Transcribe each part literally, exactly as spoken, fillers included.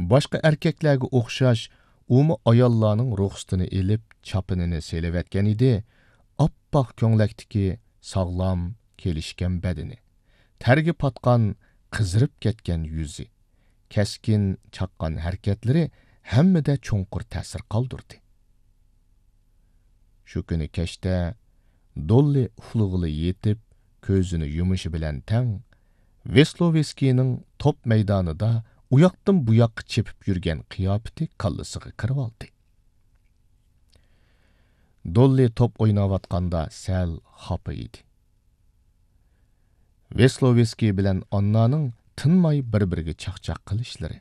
باشقا ئەركەكلەرگە ئوخشاش، ئۇمۇ ئاياللارنىڭ رۇخسىتىنى ئېلىپ، چاپىنىنى سېلىۋەتكەن ئىدى. ئاپئاق كۆڭلەكتىكى ساغلام، كېلىشكەن بەدىنى، تەرگە پاتقان، قىزىرىپ كەتكەن يۈزى، كەسكىن چاققان ھەرىكەتلىرى ھەممىدە چوڭقۇر تەسىر قالدۇردى. شۇ كۈنى كەچتە دوللى ئۇخلىغىلى يېتىپ، كۆزىنى يۇمۇشى بىلەن تەڭ، ۋېسلوۋېسكىينىڭ توپ مەيدانىدا ئۇياقتىن بۇياققا چېپىپ يۈرگەن قىياپىتى كاللىسىغا كىرىۋالدى. دوللى توپ ئويناۋاتقاندا سەل خاپا ئىدى. ۋېسلوۋېسكىي بىلەن ئاننانىڭ تىنماي بىر-بىرىگە چاقچاق قىلىشلىرى،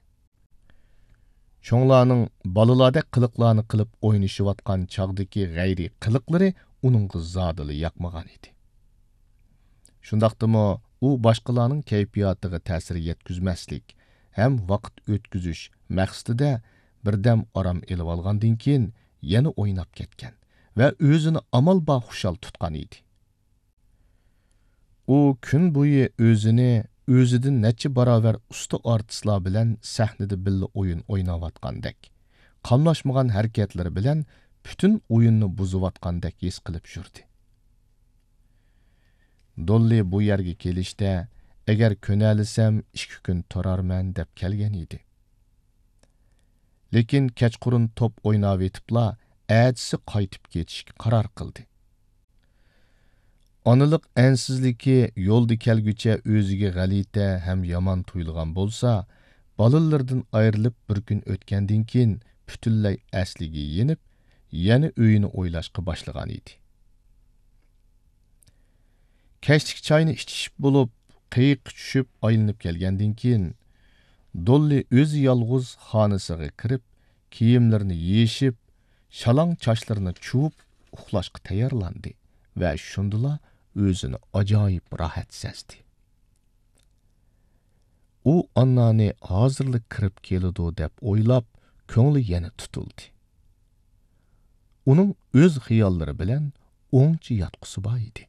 چوڭلارنىڭ بالىلاردەك قىلىقلارنى قىلىپ ئوينىشىۋاتقان چاغدىكى غەيرىي قىلىقلىرى ئۇنىڭغا زادىلا ياقمىغان ئىدى. شۇنداقتىمۇ ئۇ باشقىلارنىڭ كەيپىياتىغا تەسىر يەتكۈزمەسلىك ھەم ۋاقىت ئۆتكۈزۈش مەقسىتىدە بىردەم ئارام ئېلىۋالغاندىن كېيىن يەنە ئويناپ كەتكەن ۋە ئۆزىنى ئامال بار خۇشال تۇتقان ئىدى. ئۇ كۈن بويى ئۆزىنى ئۆزىدىن نەچچە باراۋەر ئۇستا ئارتىسلار بىلەن سەھنىدە بىللە ئويۇن ئويناۋاتقاندەك، قاملاشمىغان ھەرىكەتلىرى بىلەن پۈتۈن ئويۇننى بۇزۇۋاتقاندەك ھېس قىلىپ يۈردى. دوللى بۇ يەرگە كېلىشتە، ئەگەر كۆنەلىسەم، ئىككى كۈن تۇرارمەن، دەپ كەلگەن ئىدى. لېكىن كەچقۇرۇن توپ ئويناۋېتىپلا، ئەتىسى قايتىپ كېتىشكە قارار قىلدى. ئانىلىق ئەنسىزلىكى يولدا كەلگۈچە ئۆزىگە غەلىتە ھەم يامان تۇيۇلغان بولسا، بالىلىرىدىن ئايرىلىپ بىر كۈن ئۆتكەندىن كېيىن، پۈتۈنلەي ئەسلىگە يېنىپ، يەنە ئۆيىنى ئويلاشقا باشلىغان ئىدى. كەچلىك چاينى ئىچىشىپ بولۇپ، قېيىققا چۈشۈپ ئايلىنىپ كەلگەندىن كېيىن، دوللى ئۆزى يالغۇز خانىسىغا كىرىپ، كىيىملىرىنى يېشىپ، شالاڭ چاچلىرىنى چۇۋۇپ، ئۇخلاشقا تەييارلاندى ۋە شۇندىلا ئۆزىنى ئاجايىپ راھەت سەزدى. ئۇ ئاننانى ھازىرلا كىرىپ كېلىدۇ دەپ ئويلاپ، كۆڭلى يەنە تۇتۇلدى. ئۇنىڭ ئۆز خىياللىرى بىلەن ئوڭچە ياتقۇسى بار ئىدى.